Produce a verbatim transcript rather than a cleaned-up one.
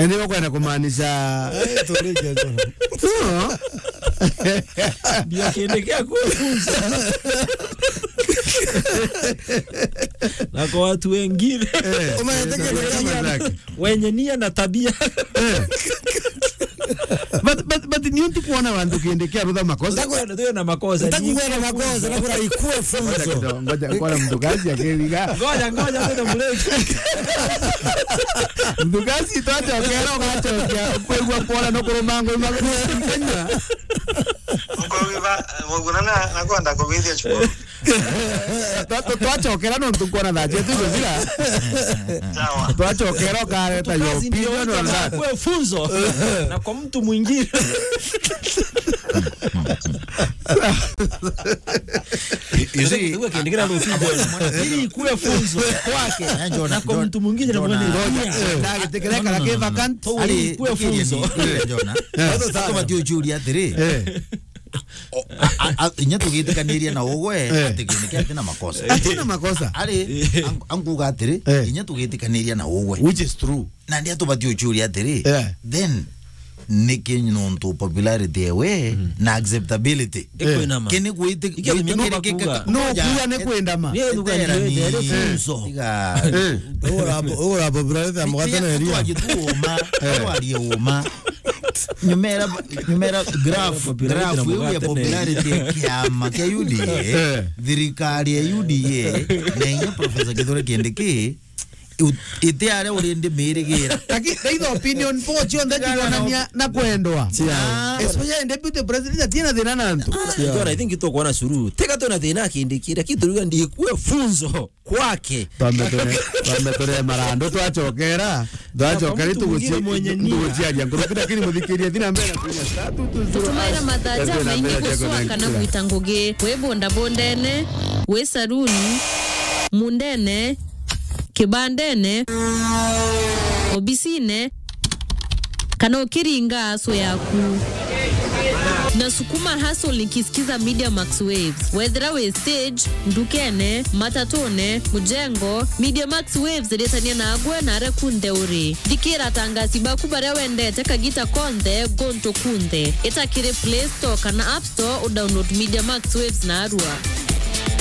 Ndio kwenda kumaanisha. Eh, turi kia. No. Ndio kindi kia kufunza. Na kwa watu wengine. Eh, umeandika ndio kama zake. Wenye nia na tabia. Eh. But, but, but ni untu kuona wantu kindi kia rutha makosa. Ntakwenda tuwe na makosa. Ntakwenda makosa, na kuna ikue funzo. Ngoja kidogo, ngoja, ngoja mtu kazi akiriga. Ngoja, ngoja, ngoja mleke. Mtu kazi twachokera, ugachokia, kwigua kuona no kuruma ngoma. Mkogiba, muguna na, na kwenda kubithia chuo. Twa-, twa-, twachokera nontu kwona thaa cietu iguthira. Sawa. Twachokera ukareta your opinion on that. Kwe funzo. Na kwa mtu mwingine. You, you see, ndio kindi kira rutu. Ili kuwe funzo kwake. Eh, Jonah, na kwa Jonah, mtu mwingine na Jonah. Mwenye. Ngoja, eh, ndagitikirekara ki vacant. Ari, kuwe funzo. Jonah. Eh. Sasa tubatie uchuria atiri. Eh. O, a, a, a, inya tugitikaniria na ugwe, eh, ati kindi kia atina makosa. Atina makosa. Ari, eh, ang-, anguga atiri, eh, inya tugitikaniria na ugwe. Which is true. Na ndia tubatie uchuria atiri, eh, then, niki nontu popularity ewe, mm, na acceptability? Eh. Ikwinama. Kini gwiti-, ikia ni mimi gwitikiririkika. Nukuga. Nukuga ni kwendama. Ni nukuga ni etera ni funzo. Tiga. Eh. Ura po-, ura popularity ya mugate na eria. Twaji tuuma, eh, twarie uma. Nyumera, nyumera graph, popularity graph na iu ya mugate na popularity ya kiama kia U D A, eh, thirikari ya U D A, na inya Professor Kithure Kindiki, u-, iti aria uri ndimirigira. Lakini the opinion poll cionthe cironania na kwendwa. Yeah. Especially deputy president atina thina na antu. Ah, yeah. John, I think tukwona suru. Teka tuna thina Kindiki, lakini turiga ndikue funzo kwake. Twambe tune-, twambe tune marandu, twachokera, twachokera. Na kwa mtu mwingine mwenye nia. Tuguciaria nguruki, lakini muthikiria thina mbere na kunya star two two zero. Tumaira mathaja maingi guswa kana gwita ngugi. Wi bondabondene, wi saruni, mundene, kibandene, obisine, kana ukiringa aso yaku. Na sukuma hustle nikisikiza Media Max Waves. Wethira wi stage, ndukene, matatune, mujengo, Media Max Waves iritania nagwe na aria kunthe uri. Thikira atangasi baku baria wendete kagita konthe, guntu kunthe. Ita kiri Play Store kana App Store, udownload Media Max Waves narua.